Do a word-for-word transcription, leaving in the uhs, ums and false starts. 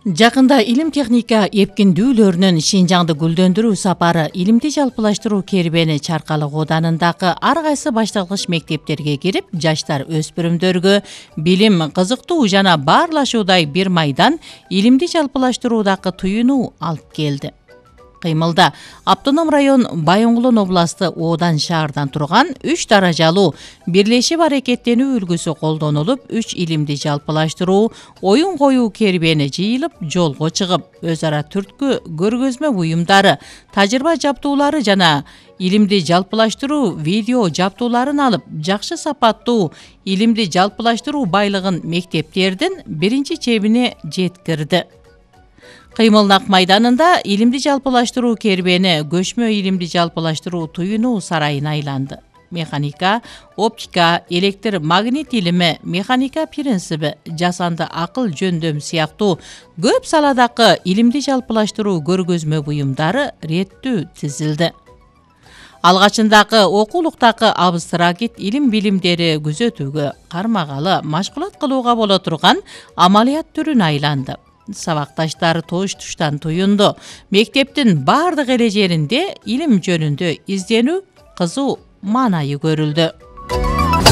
Жакында илим техника эпкиндүүлөрүнүн Шинжаңды гүлдөндүрүү сапары илимди жалпылаштыруу кербени Чаркалы кооданындагы ар кайсы башталгыч мектептерге кирип, жаштар өспүрүмдөргө билим, кызыктуу жана баарлашуудай бир майдан илимди жалпылаштыруудагы туюнуу алып келди. Кыймылда Автоном район Байоңгулон областы Оодан шаардан турган үч даражалуу бирлешип аракеттенүү үлгүсү колдонулуп, үч илимди жалпылаштыруу, оюн коюу кербени жыйылып, жолго чыгып, өз ара түрткү көргөзмө буюмдары, тажрыйба жаптуулары жана илимди жалпылаштыруу видео жаптууларын алып, жакшы сапаттуу илимди жалпылаштыруу байлыгын мектептердин биринчи чебине жеткирди. Кыймылнак майданында илимди жалпылаштыруу кербени көчмө илимди жалпылаштыруу туюнуу сарайын айланды. Механика, оптика, электр магнит илими, механика принциби, жасанды акыл жөндөм сыяктуу көп саладагы илимди жалпылаштыруу көргөзмө буюмдары реттүү тизилди. Алгачындагы окуулуктагы абстракт илим билимдери күзөтүүгө, кармагалы, машгулат кылууга боло турган амалият түрүн айланды. Сабакташтар тош-туштан туюнду. Мектептин бардык эле жеринде илим жөнүндө изденүү кызуу маанайы көрүлдү.